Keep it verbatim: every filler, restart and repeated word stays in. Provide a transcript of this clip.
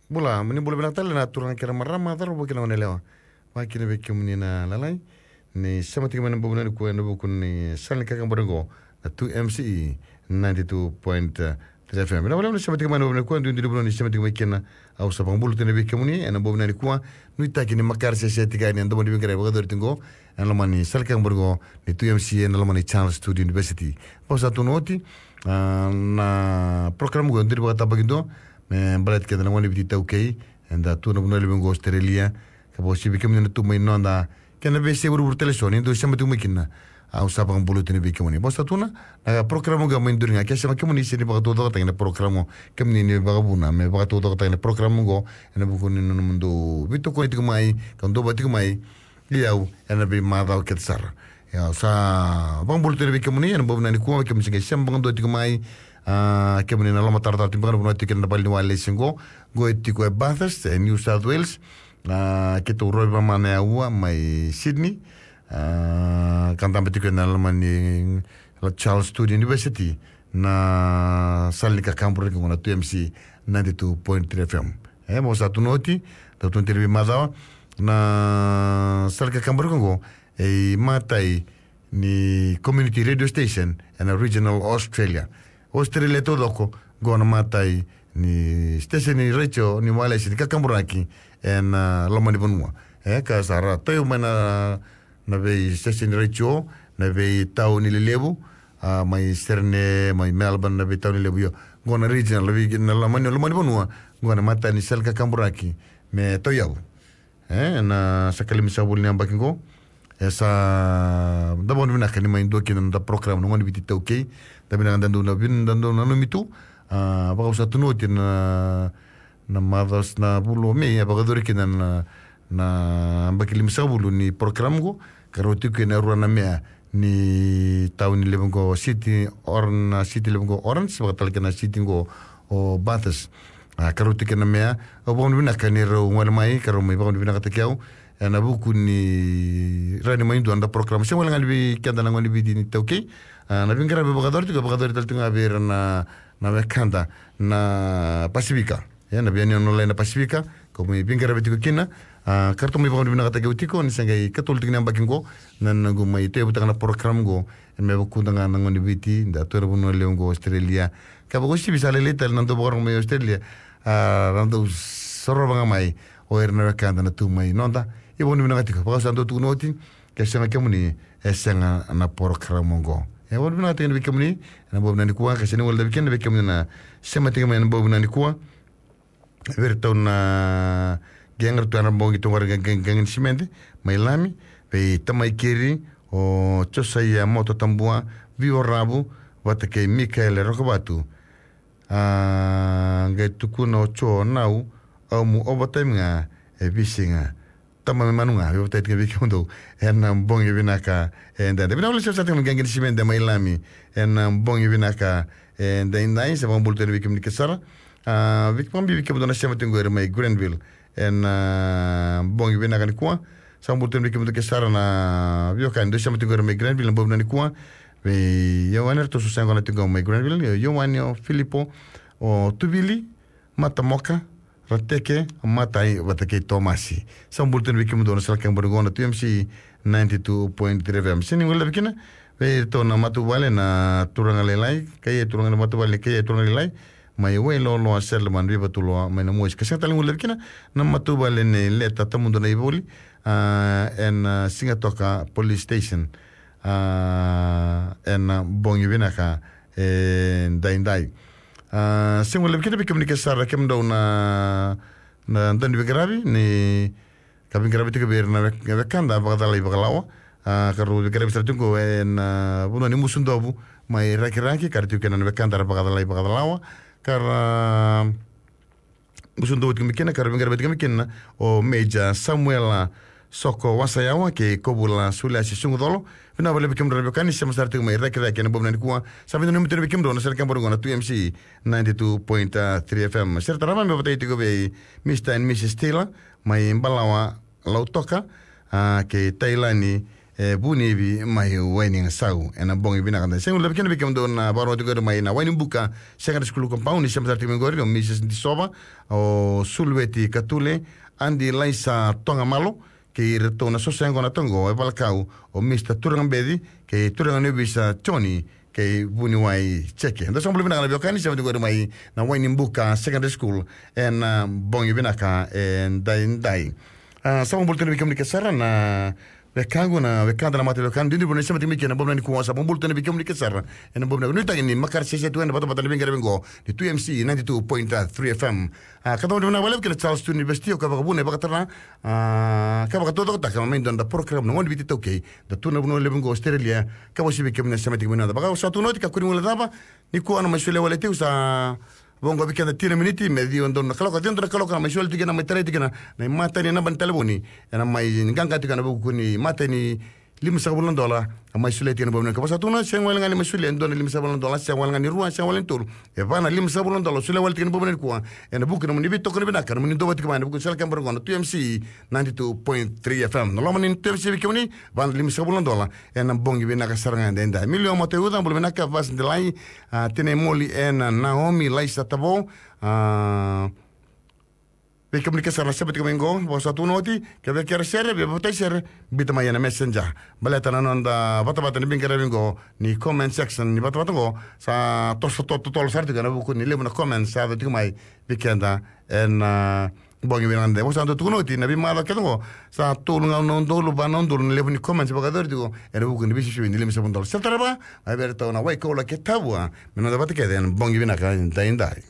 Bula, ni bula vinaka tale na turaga kei na marama, cauravou kei na goneyalewa. Vakakina vei kemuni na lalai ni sema tiko mai ena bogi vinaka nikua ena vuku ni sala ni kakabore oqo na two M C E ninety-two point three F M. Vinaka vakalevu ni sema tiko mai ena bogi vinaka nikua, duidui ni vanua ni sema tiko mai kina. Au sa vakabula tiko vei kemuni ena bogi vinaka nikua. Nuitaki ni makare sese tiko yani ena domo ni veiqaravi vakayacori tiko oqo ena loma ni sala ni kakabore oqo ni two M C E ena loma ni Charles Sturt University. Vakasautu oti, ah, na program oqo e dua ni vakatabakidua me baleti keda na gone ni Viti iTaukei eda tu ena vanua levu oqo Australia, ka vakauasivi kemuni na tu mai noda kei na veiyasai vuravura tale eso ni dau sema tiko mai kina. Au sa vakabula tiko vei kemuni. Vakasautu na program oqo mai duri ga, ke sega kemuni, sega ni vakataucokotaki na program oqo, kemuni ni vakavuna me vakataucokotaki na program oqo ena vuku ni nomudou veitokoni tiko mai ka duavata tiko mai. Ia au ena veimacawa kece sara. Ia au sa vakabula tiko vei kemuni ena bogi vinaka nikua, kemuni se qai sema vakadua tiko mai. Ah, kemuni na lomatarotaro tiko beka na vanua tiko kina na vale ni walesi oqo. Oqo e tiko e Bathurst e New South Wales. Ah, keitou rovi vamana e aua mai Sydney. Ah, ka dabe tiko ena loma ni Charles Sturt University na sala ni kakabore oqo na two M C E ninety-two point three F M. E, vakasautu oti, dau tu na tiko veimacawa na sala ni kakabore oqo, e imatai ni community radio station ena regional Australia. Australia taucoko, oqo na imatai ni station ni radio ni walesi ni kakaburaki ena loma ni vanua. E, ka sa ra tauyavu mai na na vei station ni radio na veitauni lelevu, ah, mai Sydney, mai Melbourne, na veitauni lelevu. Io, oqo na regional, na vei, na loma ni, loma ni vanua, oqo na imatai ni sala ni kakaburaki me tauyavu. E, na sa ka limasagavulu ni yabaki oqo, e sa da vakavinavinaka ni mai dua kina na noda program na gone ni Viti iTaukei. Da vinaka da dau na vin, da dau nanumi tu. Ah, vakasautu oti na na macawa na vula o Me, e vakayacori kina na, na yabaki limasagavulu ni program oqo, ka rau tiko kina e rua na meya ni tauni levu oqo, city, or na city levu oqo Orange, vaka tale kina na city oqo o Bathurst. Ah, ka rau tiko kina na meya, au vakavinavinaka ni rau gole mai ka rau mai vakavinavinakataki au ena vuku ni rawa ni mai dua na noda program. Sega wale ga ni vei keda na gone ni Viti iTaukei, ah, na veiqaravi vakayacori tiko, vakayacori tale tiko ga vei ira na, na wekada na Pasifika. E, na veiyanuyanu online na Pasifika, kau mai veiqaravi tiko kina. Ah, ka ratou mai vakavinavinakataki au tiko ni se qai ikatolu tiko ni yabaki oqo na noqu mai tauyavutaka na program oqo, e me vukudra ga na gone ni Viti da tu ena vanua levu oqo Australia. Ka vakauasivi sa lailai tale na dau vakarorogo mai Australia, ah, na dau sorova ga mai o ira na wekada na tu mai noda. Ia vakavinavinaka tiko, vaka sa dau tukuna oti, ke sega kemuni, e sega na program oqo. E vakavinavinaka tiko vei kemuni ena bogi vinaka nikua, ka sega ni guilecavi kina vei kemuni na sema tiko mai ena bogi vinaka nikua. Vei iratou na qeqera tu ena bogi tu qori, qe-, qe-, qeqe ni simede mai Lami, vei tamai keri o Josaia Mototabua, Vio Ravu, vata kei Mikaele Rokovatu. Ah, qai tukuna o Jo Nau, au mu overtime ga e veisiga. Tama me manu ga, veivatai tiko vei kemudou ena bogi vinaka edaidai. Vinaka vakalevu sara tiko na qeqe ni simede mai Lami ena bogi vinaka edaidai, sa vakabula tiko vei kemuni kece sara. Ah, vei, vakabibi vei kemudou na sema tiko qori mai Granville ena bogi vinaka nikua. Sa vakabula tiko vei kemudou kece sara na veiwekani dou sema tiko qori mai Granville ena bogi vinaka nikua. Vei Ioane, ratou sa yaqona na tiko mai Granville, o Ioane, o Filipo, o Tuvili, Matamoka, Rateke, Matai, vata kei Tomasi. Sa bula tiko vei kemudou na sala kebori qo na two M C ninety-two point three F M. Sega ni guilecavi kina vei iratou na matavuvale na turaga lailai, kei turaga na matavuvale, kei turaga lailai mai Wailoloa, Seleman, Vivatuloa, mai na Mosi. Ka sega tale ni guilecavi kina na matavuvale nei Leta Tamudu na iVoli, ah, ena, ah, Sigatoka Police Station, ah, ena bogi vinaka edaidai. Ah, sega ni guilecavi kina vei kemuni kece sara, kemudou na, na dau ni veiqaravi ni ka veiqaravi tiko vei ira na wek-, wekada vakacalai vakalawa. Ah, ka rau veiqaravi sara tiko ena, ah, vanua ni Musudovu mai Rakiraki, ka ra tiko kina na wekada ra vakacalai vakalawa. Ka ra Musudovu tiko mai kina, ka ra veiqaravi tiko mai kina o Major Samuela Soko Wasayawa kei Kovula Suliasi Sugucolo. Vinaka vakalevu vei kemudrau na veiwekani sema sara tiko mai Rakiraki ena bogi vinaka nikua. Sa veidanumi tiko vei kemudrau na sala kebori qo na two M C ninety-two point three F M. Sere tarava me vatai tiko vei Mister and Missus Taylor mai Balawa, Lautoka, ah, kei Tailani E Vunivi mai Waigasau ena bogi vinaka. Da sega ni levu kina vei kemudou na vakarorogo tiko mai na Wainibuka Secondary School compound, ni sema tiko mai qori o Mrs Disova, o Sulueti Katule, Adi Laisa Togamalo, kei iratou na sosa yaqona toka qo, e valakau o Mr Turaga Beci kei Turaga ni Ovisa Joni kei Vuniwai Jeke. Da sa bula vinaka na veiwekani, sema tiko qori mai na Wainibuka Secondary School ena bogi vinaka edaidai. A, sa vakabula tu na vei kemuni ke sara na wekaqu, na wekada na mata wekada, didi vuna sema tiko mai kina na bogi nikua. Sa vakabula tu na vei kemuni ke sara ena bogi nikua. Nuitaki ni makare sese tu ena vatavata na veiqaravi qo ni two M C ninety-two point three F M. A, ka tau vinaka vakalevu kina Charles tu University, o ka vakavuna e vakatara, a, ka vakatotokotaka mai dua na program na Gone Viti Taukei, da tu na vanua levu qo Australia, ka vasi vei kemuni na sema tiko mai na da. Vaka sa tu noti ka kuri ngule cava, nikua na mai solia wale tiko sa voqo vei keda tini na miniti me ciwa donu na kaloko, ciwa donu na kaloko na mai solia tiko na mai tarai tiko na, na imatai ni naba ni talevoni, ena mai qaqa tiko na vuku ni imatai ni lima sagavulu na dola, a mai solia tiko na bogi nikua. Vaka sa tu na, sega wale ga ni mai solia e dua na lima sagavulu na dola, sega wale ga ni rua, sega wale ni tolu. E va na lima sagavulu na dola, solia wale tiko na bogi nikua. Ena vuku na nomuni veitokoni vinaka, nomuni dova tiko mai ena vuku ni sala kebara qo na two M C ninety-two point three F M. Na loma ni two M C vei kemuni, va na lima sagavulu na dola ena bogi vinaka sara ga edaidai. Miliwa Mataeuca, bula vinaka, Vas Delai, a, Tine Moli ena Naomi Laisa Tavo, a, vei kemuni ke sara na sema tiko mai qo, vaka sa tu noti, ke vei kera sere, vei vakatai sere, biuta mai ena Messenger. Baleta na noda vatavata ni veiqaravi qo ni comment section ni vatavata qo, sa toso to- totolo sara tiko ena vuku ni levu na comment sa yaco tiko mai vei keda ena bogi vinaka edaidai. Vaka sa dau tukuna oti, na veimacawa kece qo, sa tolu ga na udolu, va na udolu na levu ni comments vakayacori tiko ena vuku ni veisisivi ni lima sagavulu na dola. Sa tarava mai vei iratou na Waikoula kei Tavua me noda vata kece ena bogi vinaka edaidai.